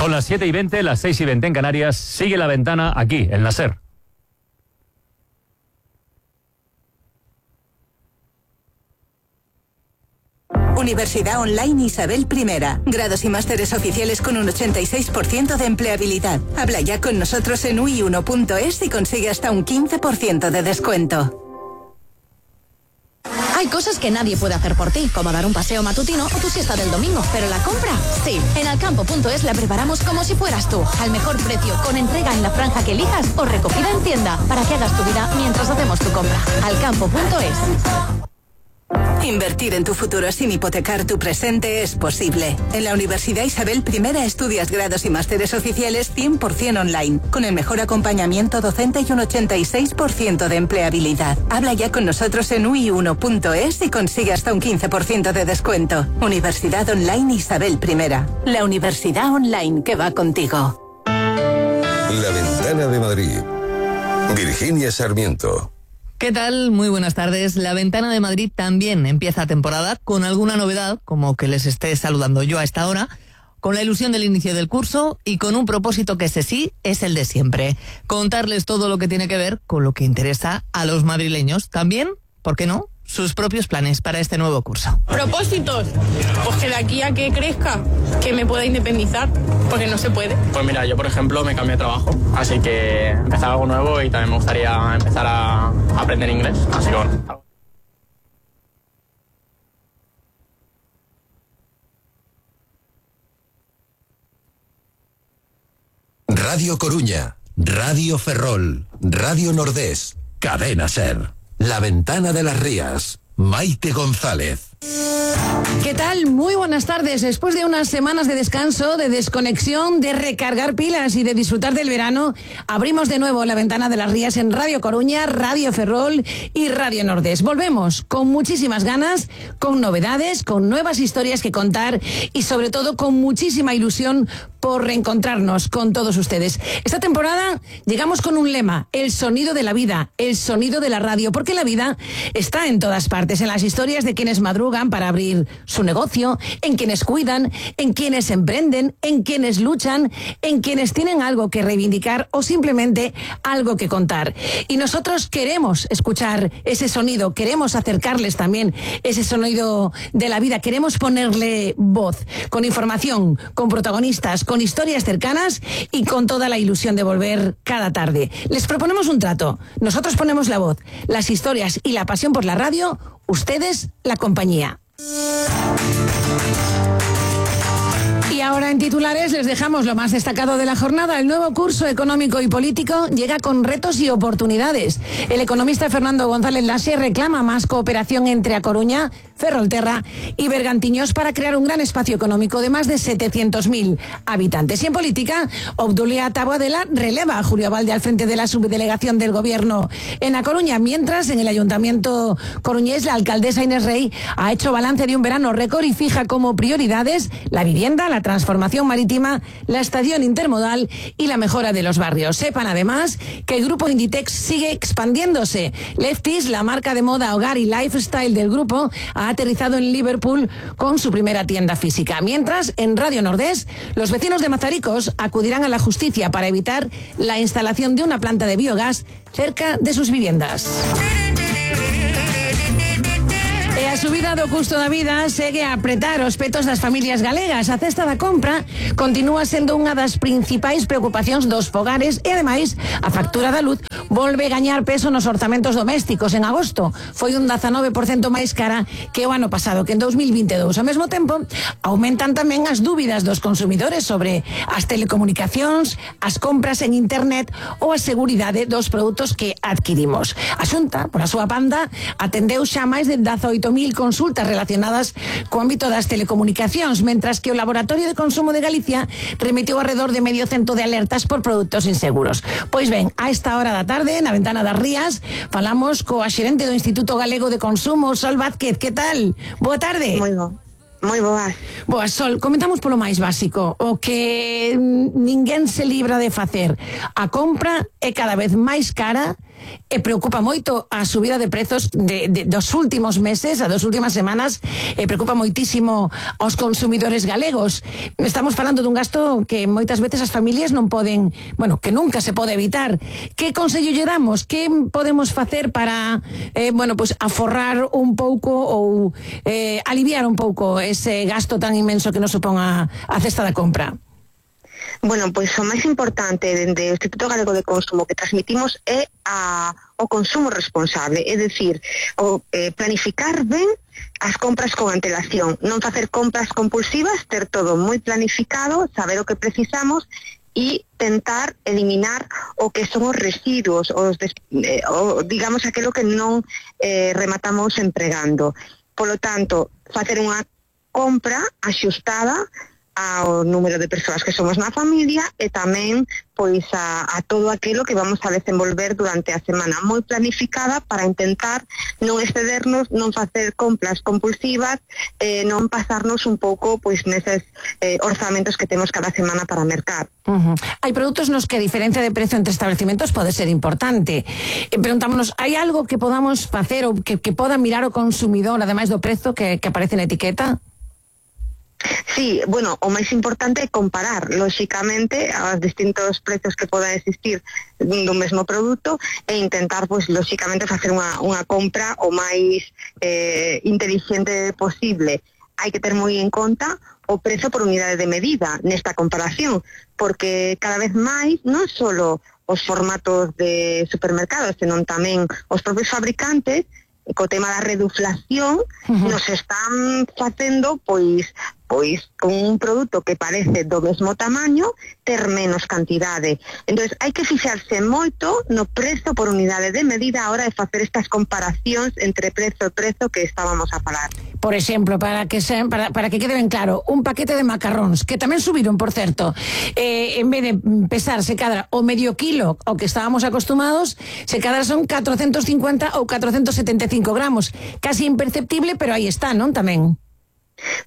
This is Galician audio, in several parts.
Son las 7:20, las 6:20 en Canarias. Sigue La Ventana aquí, en la SER. Universidad Online Isabel I. Grados y másteres oficiales con un 86% de empleabilidad. Habla ya con nosotros en ui1.es y consigue hasta un 15% de descuento. Hay cosas que nadie puede hacer por ti, como dar un paseo matutino o tu siesta del domingo, pero la compra, sí. En alcampo.es la preparamos como si fueras tú, al mejor precio, con entrega en la franja que elijas o recogida en tienda, para que hagas tu vida mientras hacemos tu compra. Alcampo.es. Invertir en tu futuro sin hipotecar tu presente es posible. En la Universidad Isabel I estudias grados y másteres oficiales 100% online, con el mejor acompañamiento docente y un 86% de empleabilidad. Habla ya con nosotros en ui1.es y consigue hasta un 15% de descuento. Universidad Online Isabel I. La universidad online que va contigo. La Ventana de Madrid. Virginia Sarmiento. ¿Qué tal? Muy buenas tardes. La Ventana de Madrid también empieza temporada con alguna novedad, como que les esté saludando yo a esta hora, con la ilusión del inicio del curso y con un propósito que ese sí es el de siempre. Contarles todo lo que tiene que ver con lo que interesa a los madrileños. También, ¿por qué no?, sus propios planes para este nuevo curso. ¿Propósitos? Pues que de aquí a que crezca, que me pueda independizar, porque no se puede. Pues mira, yo por ejemplo me cambié de trabajo, así que empezar algo nuevo y también me gustaría empezar a aprender inglés, así que bueno. Radio Coruña, Radio Ferrol, Radio Nordés, Cadena SER. La Ventana de las Rías, Maite González. ¿Qué tal? Muy buenas tardes. Después de unas semanas de descanso, de desconexión, de recargar pilas y de disfrutar del verano, abrimos de nuevo La Ventana de las Rías en Radio Coruña, Radio Ferrol y Radio Nordés. Volvemos con muchísimas ganas, con novedades, con nuevas historias que contar y sobre todo con muchísima ilusión por reencontrarnos con todos ustedes. Esta temporada llegamos con un lema: el sonido de la vida, el sonido de la radio, porque la vida está en todas partes, en las historias de quienes madrugan para abrir su negocio, en quienes cuidan, en quienes emprenden, en quienes luchan, en quienes tienen algo que reivindicar o simplemente algo que contar. Y nosotros queremos escuchar ese sonido, queremos acercarles también ese sonido de la vida, queremos ponerle voz, con información, con protagonistas, con historias cercanas y con toda la ilusión de volver cada tarde. Les proponemos un trato. Nosotros ponemos la voz, las historias y la pasión por la radio, ustedes la compañía. Y ahora en titulares les dejamos lo más destacado de la jornada. El nuevo curso económico y político llega con retos y oportunidades. El economista Fernando González Laxe reclama más cooperación entre A Coruña, Ferrolterra y Bergantiños para crear un gran espacio económico de más de 700.000 habitantes. Y en política, Obdulia Taboadela releva a Julio Valde al frente de la subdelegación del Gobierno en A Coruña, mientras en el Ayuntamiento coruñés la alcaldesa Inés Rey ha hecho balance de un verano récord y fija como prioridades la vivienda, la transformación marítima, la estación intermodal y la mejora de los barrios. Sepan además que el grupo Inditex sigue expandiéndose. Lefties, la marca de moda, hogar y lifestyle del grupo, ha aterrizado en Liverpool con su primera tienda física. Mientras, en Radio Nordés, los vecinos de Mazaricos acudirán a la justicia para evitar la instalación de una planta de biogás cerca de sus viviendas. A subida do custo da vida segue a apretar os petos das familias galegas. A cesta da compra continúa sendo unha das principais preocupacións dos fogares e, ademais, a factura da luz volve gañar peso nos orzamentos domésticos. En agosto foi un 19% máis cara que o ano pasado, que en 2022. Ao mesmo tempo, aumentan tamén as dúbidas dos consumidores sobre as telecomunicacións, as compras en internet ou a seguridade dos produtos que adquirimos. A Xunta, por a súa banda, atendeu xa máis de 18.000 consultas relacionadas co ámbito das telecomunicacións, mentras que o Laboratorio de Consumo de Galicia remitiu alrededor de medio cento de alertas por produtos inseguros. Pois ben, a esta hora da tarde, na Ventana das Rías, falamos coa xerente do Instituto Galego de Consumo, Sol Vázquez. Que tal? Boa tarde. Moi boa. Boa, Sol, comentamos polo máis básico, o que ninguén se libra de facer. A compra é cada vez máis cara e preocupa moito a subida de prezos dos últimos meses, a das últimas semanas, e preocupa moitísimo aos consumidores galegos. Estamos falando dun gasto que moitas veces as familias non poden, bueno, que nunca se pode evitar. Que consello lle damos? Que podemos facer para, pues aforrar un pouco ou aliviar un pouco ese gasto tan inmenso que nos supón a cesta da compra? Bueno, pois o máis importante dende o Instituto Galego de Consumo que transmitimos é o consumo responsable, é dicir, planificar ben as compras con antelación, non facer compras compulsivas, ter todo moi planificado, saber o que precisamos e tentar eliminar o que son os residuos, digamos aquilo que non rematamos empregando. Polo tanto, facer unha compra axustada ao número de persoas que somos na familia e tamén pois a todo aquilo que vamos a desenvolver durante a semana, moi planificada para intentar non excedernos, non facer compras compulsivas, non pasarnos un pouco pois neses orzamentos que temos cada semana para mercar. Hai produtos nos que a diferencia de prezo entre establecimentos pode ser importante. Preguntámonos, hai algo que podamos facer ou que poda mirar o consumidor ademais do prezo que aparece na etiqueta? Sí, bueno, o máis importante é comparar, lóxicamente, os distintos prezos que podan existir dun mesmo produto e intentar, pois, lóxicamente, facer unha compra o máis inteligente posible. Hai que ter moi en conta o prezo por unidade de medida nesta comparación, porque cada vez máis non só os formatos de supermercados, senón tamén os propios fabricantes, co tema da reduflación, nos están facendo, pois con un produto que parece do mesmo tamaño, ter menos cantidade. Entonces, hai que fixarse moito no prezo por unidade de medida a hora de facer estas comparacións entre prezo e prezo que estábamos a falar. Por exemplo, para que quede ben claro, un paquete de macarróns, que tamén subiron, por certo, en vez de pesar, se cadra o medio kilo, o que estábamos acostumados, se cadra son 450 ou 475 gramos. Casi imperceptible, pero aí está, non, tamén?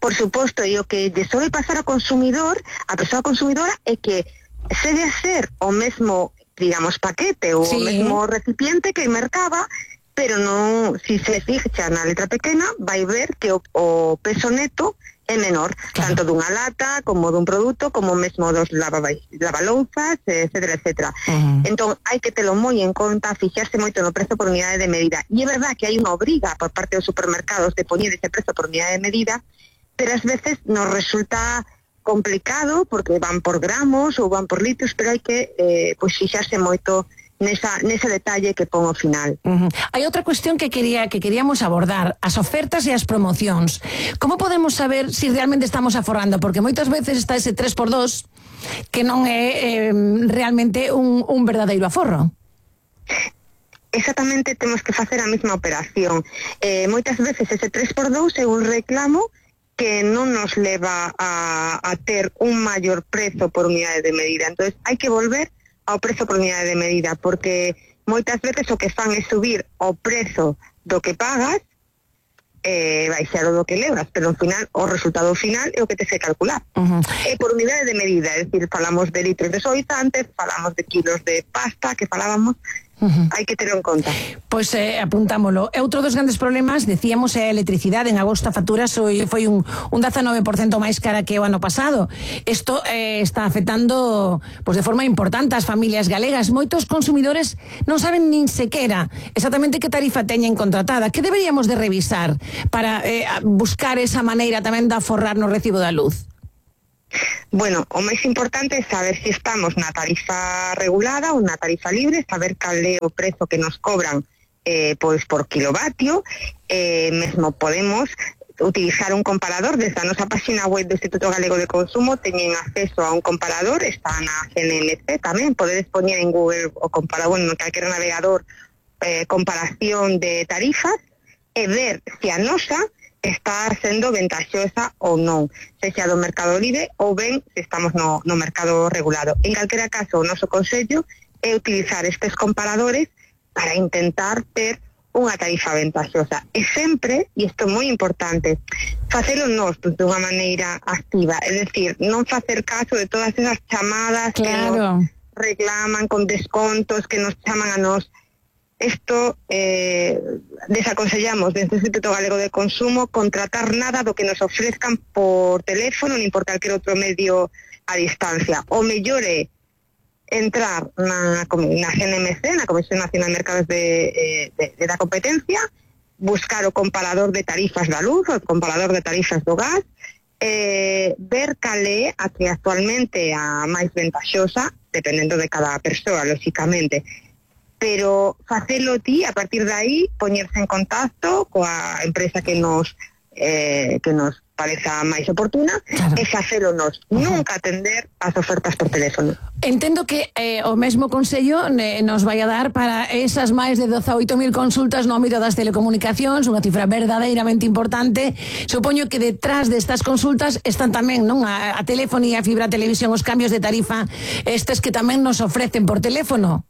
Por suposto, e o que lle sobe pasar ao consumidor, a persoa consumidora, é que se de hacer o mesmo, digamos, paquete ou o mesmo recipiente que mercaba, pero non, si se fixa na letra pequena, vai ver que o peso neto é menor, tanto dunha lata, como dun produto, como mesmo dos lavalouzas, etcétera, etcétera. Entón, hai que telo moi en conta, fixarse moito no prezo por unidade de medida. E é verdad que hai unha obriga por parte dos supermercados de poñer ese prezo por unidade de medida, pero ás veces nos resulta complicado porque van por gramos ou van por litros, pero hai que fixarse moito nese detalle que pon ao final. Hai outra cuestión que queríamos abordar, as ofertas e as promocións. Como podemos saber se realmente estamos aforrando? Porque moitas veces está ese 3x2 que non é realmente un verdadeiro aforro. Exactamente, temos que facer a mesma operación. Moitas veces ese 3x2 é un reclamo que non nos leva a ter un maior prezo por unidade de medida. Entonces, hai que volver ao prezo por unidade de medida, porque moitas veces o que fan é subir o prezo do que pagas, baixar o do que levas, pero ao final o resultado final é o que te sei calcular. É por unidade de medida, é dicir, falamos de litros de suavizantes, falamos de kilos de pasta que falábamos, hai que ter en conta. Pois apuntámolo. Outro dos grandes problemas, decíamos, é a electricidade. En agosto a factura foi un 19% máis cara que o ano pasado. Isto está afectando de forma importante as familias galegas. Moitos consumidores non saben nin sequera exactamente que tarifa teñen contratada. Que deberíamos de revisar para buscar esa maneira tamén de aforrar no recibo da luz? Bueno, o máis importante é saber se estamos na tarifa regulada ou na tarifa libre, saber cal é o prezo que nos cobran pois por kilovatio. Mesmo podemos utilizar un comparador. Desde a nosa página web do Instituto Galego de Consumo teñen acceso a un comparador, está na CNMC tamén, podedes poñer en Google o comparador, en calquer navegador, comparación de tarifas e ver se a nosa está sendo ventaxosa ou non, sexa do mercado libre ou ben se estamos no mercado regulado. En calquera caso, o noso consello é utilizar estes comparadores para intentar ter unha tarifa ventaxosa. E sempre, e isto é moi importante, facelo nós dunha maneira activa, é dicir, non facer caso de todas esas chamadas que nos reclaman con descontos, que nos chaman a nós. Isto desaconsellamos desde o Instituto Galego de Consumo contratar nada do que nos ofrezcan por teléfono nin por calquer outro medio a distancia. O mellor é entrar na CNMC, na Comisión Nacional de Mercados da Competencia, buscar o comparador de tarifas da luz, o comparador de tarifas do gas, ver cal é a que actualmente a máis ventaxosa, dependendo de cada persoa, lóxicamente, pero facelo ti, a partir de aí, poñerse en contacto coa empresa que nos pareza máis oportuna, claro, e facelo nos. Nunca atender as ofertas por teléfono. Entendo que o mesmo consello nos vai a dar para esas máis de 18.000 consultas no ámbito das telecomunicacións, unha cifra verdadeiramente importante. Supoño que detrás destas consultas están tamén, non, a telefonía, a fibra, a televisión, os cambios de tarifa, estes que tamén nos ofrecen por teléfono.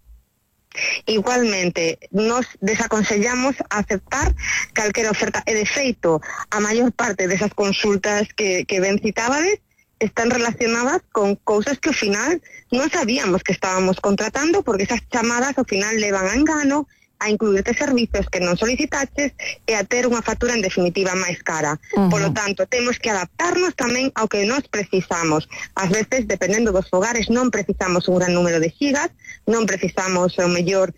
Igualmente, nos desaconsellamos aceptar calquera oferta, e de feito, a maior parte desas consultas que ben citábades están relacionadas con cousas que ao final non sabíamos que estábamos contratando, porque esas chamadas ao final levan a engano, a incluirte servizos que non solicitaches e a ter unha factura en definitiva máis cara. Polo tanto, temos que adaptarnos tamén ao que nos precisamos. Ás veces, dependendo dos fogares, non precisamos un gran número de xigas, non precisamos, ao mellor,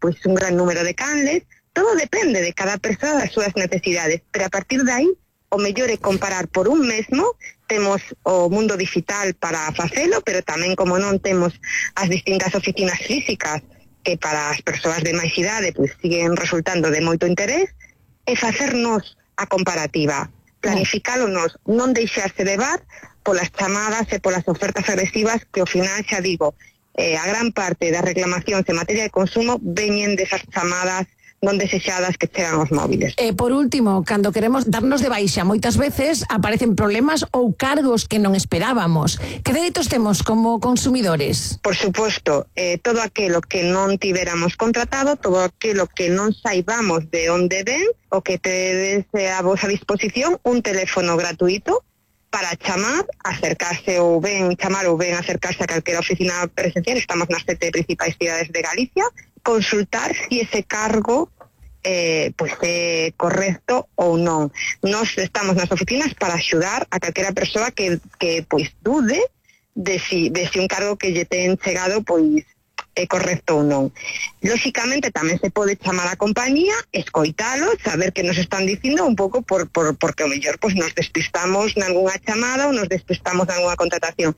pois un gran número de canles. Todo depende de cada persoa das súas necesidades, pero a partir de aí, o mellor é comparar por un mesmo. Temos o mundo digital para facelo, pero tamén, como non, temos as distintas oficinas físicas que para as persoas de máis idade pois siguen resultando de moito interés, e facernos a comparativa, planificálonos, non deixarse levar polas chamadas e polas ofertas agresivas que ao final, xa digo, a gran parte das reclamacións en materia de consumo veñen desas chamadas non desexadas que chegan aos móviles. Por último, cando queremos darnos de baixa, moitas veces aparecen problemas ou cargos que non esperábamos. Que dereitos temos como consumidores? Por suposto, todo aquilo que non tiveramos contratado, todo aquilo que non saibamos de onde ven, o que tedes a vosa disposición, un teléfono gratuito para chamar, acercarse ou ben chamar ou ben acercarse a calquera oficina presencial. Estamos nas 7 principais cidades de Galicia, consultar si ese cargo pois é correcto ou non. Nós estamos nas oficinas para axudar a calquera persoa que pois dude de si un cargo que lle ten chegado pois é correcto ou non. Lóxicamente tamén se pode chamar a compañía, escoitalos, saber que nos están dicindo un pouco porque ao mellor pois nos despistamos nalgúna chamada ou nos despistamos nalgúna contratación.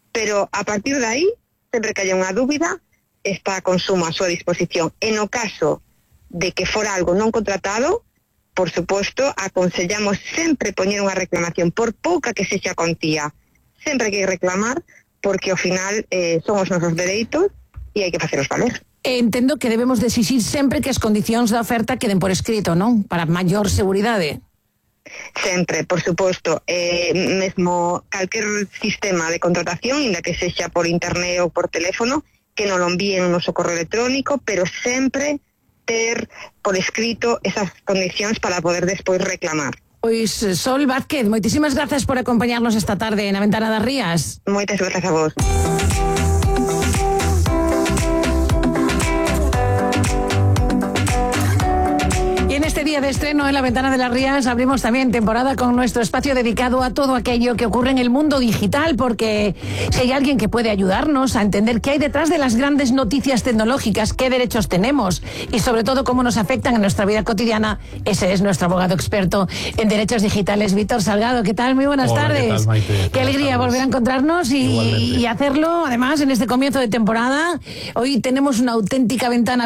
Pero a partir de aí, sempre que haya unha dúbida, está a Consumo a súa disposición. En o caso de que fora algo non contratado, por suposto, aconsellamos sempre poñer unha reclamación, por pouca que sexa contía. Sempre hai que reclamar, porque ao final son os nosos dereitos e hai que facelos valer. Entendo que debemos de exixir sempre que as condicións da oferta queden por escrito, non? Para maior seguridade. Sempre, por suposto, mesmo calquer sistema de contratación, inda que sexa por internet ou por teléfono, que non lo envíen no noso correo electrónico, pero sempre ter por escrito esas condicións para poder despois reclamar. Pois, Sol Vázquez, moitísimas grazas por acompañarnos esta tarde na Ventana das Rías. Moitas grazas a vos. En este día de estreno en la Ventana de las Rías abrimos también temporada con nuestro espacio dedicado a todo aquello que ocurre en el mundo digital, porque si hay alguien que puede ayudarnos a entender qué hay detrás de las grandes noticias tecnológicas, qué derechos tenemos y sobre todo cómo nos afectan en nuestra vida cotidiana, ese es nuestro abogado experto en derechos digitales, Víctor Salgado. ¿Qué tal? Muy buenas tardes. ¿Qué tal, Maite? Qué alegría volver a encontrarnos y hacerlo además en este comienzo de temporada. Hoy tenemos una auténtica ventana